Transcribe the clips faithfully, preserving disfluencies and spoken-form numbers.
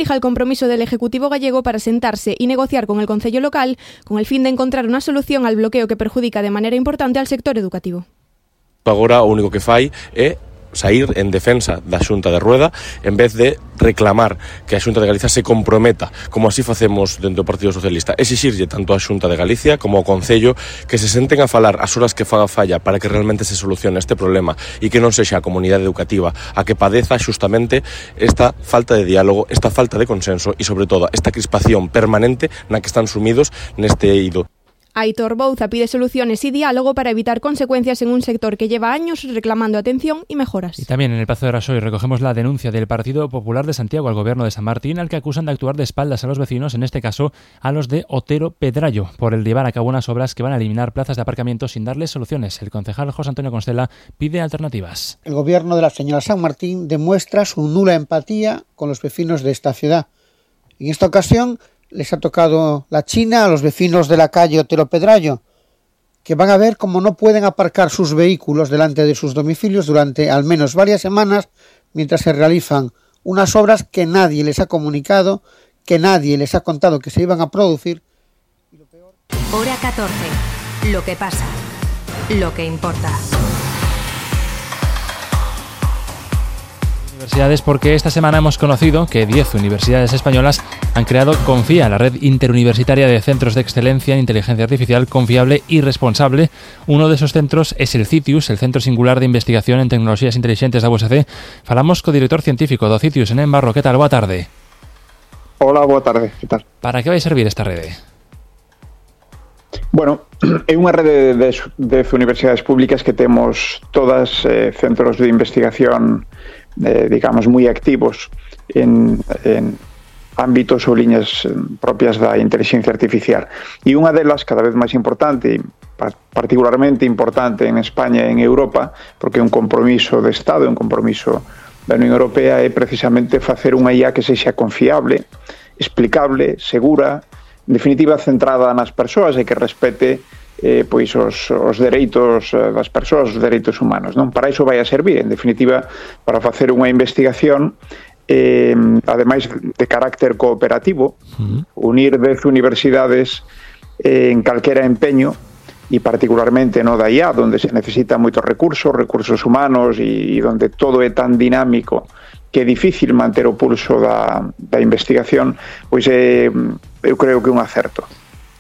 Fija el compromiso del Ejecutivo gallego para sentarse y negociar con el Concello local con el fin de encontrar unha solución al bloqueo que perjudica de maneira importante al sector educativo. Agora o único que fai é sair en defensa da Xunta de Rueda en vez de reclamar que a Xunta de Galicia se comprometa, como así facemos dentro do Partido Socialista, exixirlle tanto a Xunta de Galicia como ao Concello que se senten a falar as horas que faga falla para que realmente se solucione este problema e que non sexa a comunidade educativa a que padeza xustamente esta falta de diálogo, esta falta de consenso e sobre todo esta crispación permanente na que están sumidos neste eido. Aitor Bouza pide soluciones y diálogo para evitar consecuencias en un sector que lleva años reclamando atención y mejoras. Y también en el Pazo de Rasoy recogemos la denuncia del Partido Popular de Santiago al Gobierno de San Martín, al que acusan de actuar de espaldas a los vecinos, en este caso a los de Otero Pedrallo, por el llevar a cabo unas obras que van a eliminar plazas de aparcamiento sin darles soluciones. El concejal José Antonio Constela pide alternativas. El Gobierno de la señora San Martín demuestra su nula empatía con los vecinos de esta ciudad. En esta ocasión les ha tocado la china a los vecinos de la calle Otero Pedrallo, que van a ver cómo no pueden aparcar sus vehículos delante de sus domicilios durante al menos varias semanas mientras se realizan unas obras que nadie les ha comunicado, que nadie les ha contado que se iban a producir. Hora catorce. Lo que pasa. Lo que importa. Universidades, porque esta semana hemos conocido que diez universidades españolas han creado Confía, la red interuniversitaria de centros de excelencia en inteligencia artificial confiable y responsable. Uno de esos centros es el CITIUS, el Centro Singular de Investigación en Tecnologías Inteligentes da U S C. Falamos co director científico do CITIUS en Embarro. Que tal? Boa tarde. Hola, boa tarde. Que tal? Para que vai servir esta rede? Bueno, é unha rede de, de universidades públicas que temos todas eh, centros de investigación Eh, digamos, moi activos en, en ámbitos ou liñas propias da inteligencia artificial. E unha delas, cada vez máis importante, particularmente importante en España e en Europa, porque é un compromiso de Estado, un compromiso da Unión Europea, é precisamente facer unha I A que sexa confiable, explicable, segura, en definitiva centrada nas persoas e que respete Eh, pois os, os dereitos das persoas, os dereitos humanos, non? Para iso vai a servir, en definitiva, para facer unha investigación eh, ademais de carácter cooperativo, uh-huh. unir dez universidades eh, en calquera empeño, e particularmente no da I A, onde se necesita moitos recursos, recursos humanos, e, e onde todo é tan dinámico que é difícil manter o pulso da, da investigación, pois eh, eu creo que é un acerto.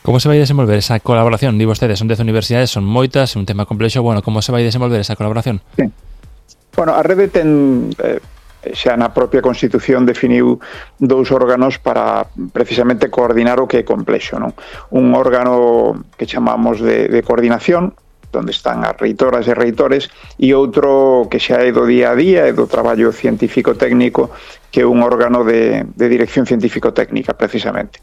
Como se vai desenvolver esa colaboración? Digo vostedes, son dez universidades, son moitas, é un tema complexo. Bueno, como se vai desenvolver esa colaboración? Sí. Bueno, a rede ten, eh, xa na propia Constitución definiu dous órganos para precisamente coordinar o que é complexo, non? Un órgano que chamamos de, de coordinación, onde están as reitoras e reitores, e outro que xa é do día a día e do traballo científico-técnico, que é un órgano de, de dirección científico-técnica, precisamente.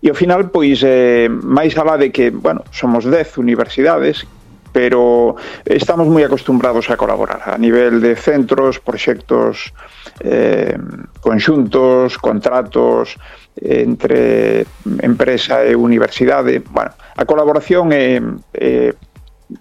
E ao final, pois, eh, máis alá de que, bueno, somos dez universidades, pero estamos moi acostumbrados a colaborar a nivel de centros, proxectos eh, conxuntos, contratos eh, entre empresa e universidade. Bueno, a colaboración é, é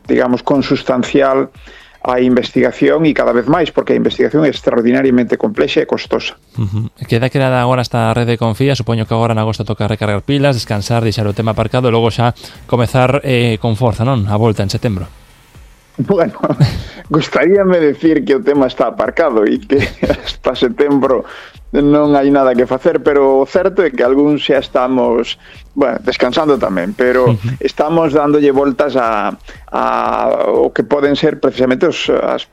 digamos, consustancial a investigación e cada vez máis, porque a investigación é extraordinariamente complexa e costosa. Uh-huh. Queda creada agora esta rede Confía, supoño que agora en agosto toca recargar pilas, descansar, deixar o tema aparcado e logo xa comezar eh, con forza, non? A volta en setembro. Bueno, gustaríame decir que o tema está aparcado e que hasta setembro non hai nada que facer, pero o certo é que algúns xa estamos, bueno, descansando tamén, pero estamos dándolle voltas a, a o que poden ser precisamente os, as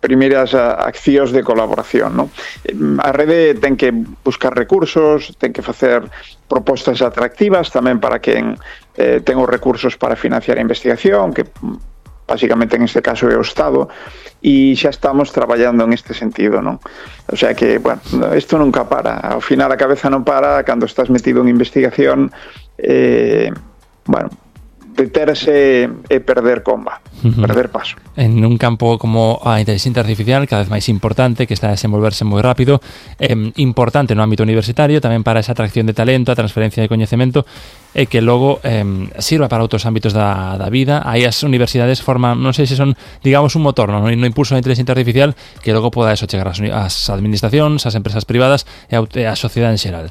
primeiras accións de colaboración, non? A rede ten que buscar recursos, ten que facer propostas atractivas tamén para quen eh, ten os recursos para financiar a investigación, que basicamente en este caso é o Estado, e xa estamos traballando en este sentido, non? O sea que, bueno, isto nunca para. Ao final a cabeza non para cando estás metido en investigación, eh, bueno, deterse e perder comba, uh-huh. perder paso. En un campo como a inteligencia artificial, cada vez máis importante, que está a desenvolverse moi rápido, eh, importante no ámbito universitario, tamén para esa atracción de talento, a transferencia de coñecemento, e que logo eh, sirva para outros ámbitos da, da vida. Aí as universidades forman, non sei se son, digamos, un motor no, no impulso da inteligencia artificial que logo poda eso chegar ás, ás administracións, ás empresas privadas e a, a sociedade en xeral.